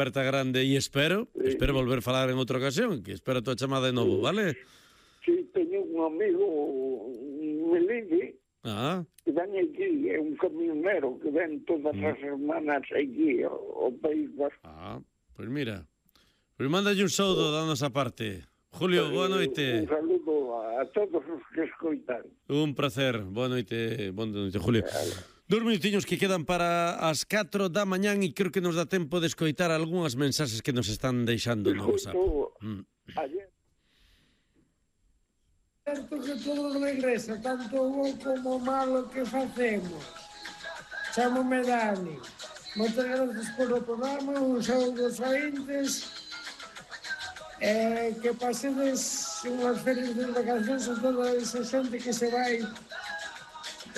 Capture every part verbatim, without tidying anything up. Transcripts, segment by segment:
aperta grande e espero, sí. espero volver a falar en outra ocasión, que espero a tua chamada de novo, vale? Sí, teño un amigo, Melide, ah. que ven aquí, é un camionero que ven todas mm. as semanas aquí ao País Vasco. Ah, pois pues mira, pois pues mándalle un saúdo da nosa parte. Julio, boa noite. Un saludo a todos os que escoitan. Un placer, boa noite, boa noite, Julio. Dos minutiños que quedan para as catro da mañán e creo que nos dá tempo de escoitar algunhas mensaxes que nos están deixando no WhatsApp. Mm. Ayer. Certo que todo regresa, tanto bo como malo que facemos. Chámome Dani. Moitas gracias polo programa, un saúdo aos ointes. Eh, que pasedes unhas felices vacacións a toda esa xente que se vai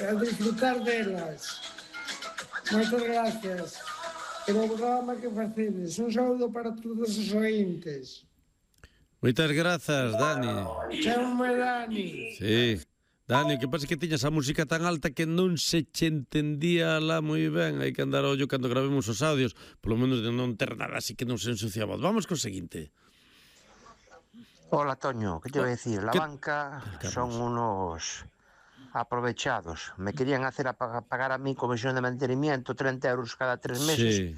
a disfrutar delas. Moitas gracias pelo programa que facedes. Un saúdo para todos os ointes. Moitas grazas, Dani. Chámame Dani. Sí. Dani, que pasa que tiñas a música tan alta que non se che entendía lá moi ben. Hai que andar a ollo cando gravemos os audios, polo menos de non ter nada así que non se ensuciaba. Vamos co seguinte. Hola, Toño, ¿qué te voy a decir? La ¿Qué? banca son unos aprovechados. Me querían hacer a pagar a mí comisión de mantenimiento treinta euros cada tres meses sí.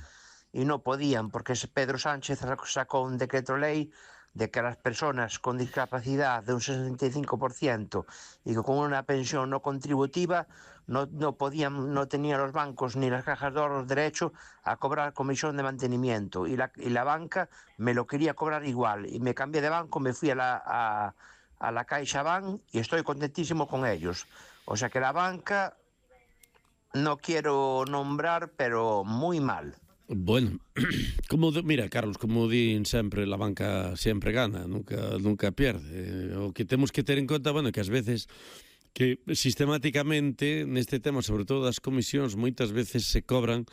y no podían porque Pedro Sánchez sacó un decreto ley de que las personas con discapacidad de un sesenta y cinco por ciento y con una pensión no contributiva no, no podían, no tenían los bancos ni las cajas de ahorros derecho a cobrar comisión de mantenimiento y la, y la banca me lo quería cobrar igual y me cambié de banco, me fui a la, a, a la CaixaBank y estoy contentísimo con ellos. O sea que la banca no quiero nombrar, pero muy mal. Bueno, como de, mira, Carlos, como din sempre, la banca sempre gana, nunca nunca pierde. O que temos que ter en conta, bueno, que ás veces que sistemáticamente neste tema, sobre todo das comisións, moitas veces se cobran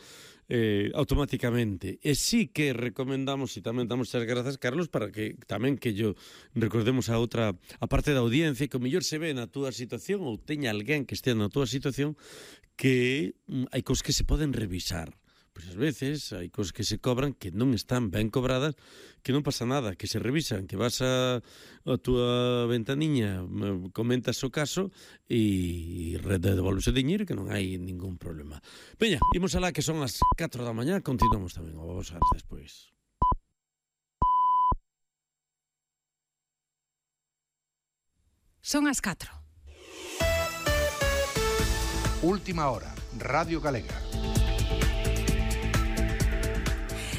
eh, automáticamente. E sí que recomendamos, e tamén damos as grazas, Carlos, para que tamén que yo recordemos a outra, a parte da audiencia, que o mellor se ve na túa situación ou teña alguén que estea na túa situación, que mm, hai cosas que se poden revisar. Pois ás veces hai cosas que se cobran que non están ben cobradas, que non pasa nada, que se revisan, que vas a, a túa ventaniña, comentas o caso e devolves o diñeiro que non hai ningún problema. Veña, imos alá que son as catro da mañá, continuamos tamén a vos despois. Son as catro. Última hora, Radio Galega.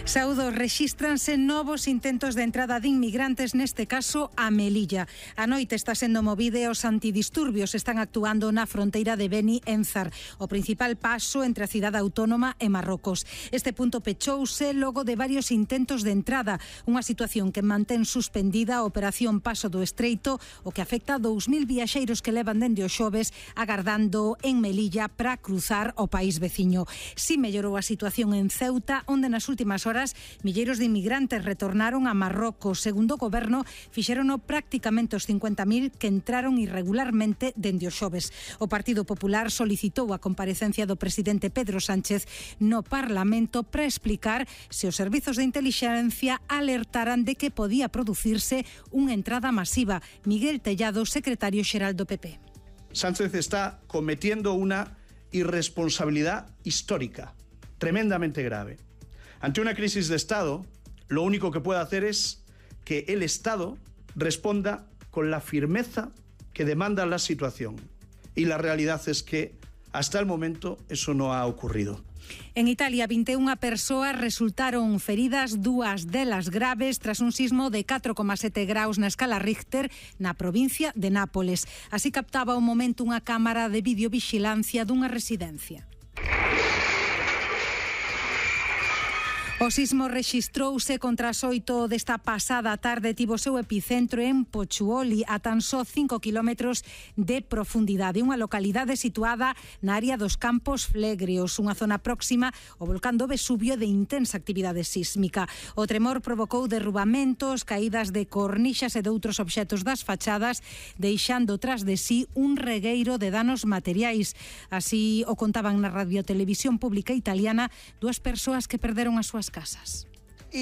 Saúdos, rexístranse novos intentos de entrada de inmigrantes, neste caso a Melilla. A noite está sendo movida e os antidisturbios están actuando na fronteira de Beni Enzar, o principal paso entre a cidade autónoma e Marrocos. Este punto pechouse logo de varios intentos de entrada, unha situación que mantén suspendida a operación Paso do Estreito, o que afecta a dous mil viaxeiros que levan dende o xoves agardando en Melilla para cruzar o país veciño. Si mellorou a situación en Ceuta, onde nas últimas horas milleiros de inmigrantes retornaron a Marrocos. Segundo o goberno, fixérono prácticamente os cincuenta mil que entraron irregularmente dende o xoves. O Partido Popular solicitou a comparecencia do presidente Pedro Sánchez no Parlamento para explicar se os servizos de intelixencia alertaran de que podía producirse unha entrada masiva. Miguel Tellado, secretario xeral do P P. Sánchez está cometiendo una irresponsabilidad histórica, tremendamente grave. Ante una crisis de Estado, lo único que puede hacer es que el Estado responda con la firmeza que demanda la situación. Y la realidad es que hasta el momento eso no ha ocurrido. En Italia, vinte e unha persoas resultaron feridas, dúas delas graves, tras un sismo de catro coma sete graus na escala Richter na provincia de Nápoles. Así captaba un momento unha cámara de videovixilancia dunha residencia. O sismo rexistrouse contra as oito desta pasada tarde, tivo seu epicentro en Pochuoli, a tan só cinco kilómetros de profundidade, unha localidade situada na área dos Campos Flegreos, unha zona próxima ao volcán do Vesubio de intensa actividade sísmica. O tremor provocou derrubamentos, caídas de cornixas e de outros obxectos das fachadas, deixando tras de sí un regueiro de danos materiais. Así o contaban na radiotelevisión pública italiana dúas persoas que perderon as súas casas.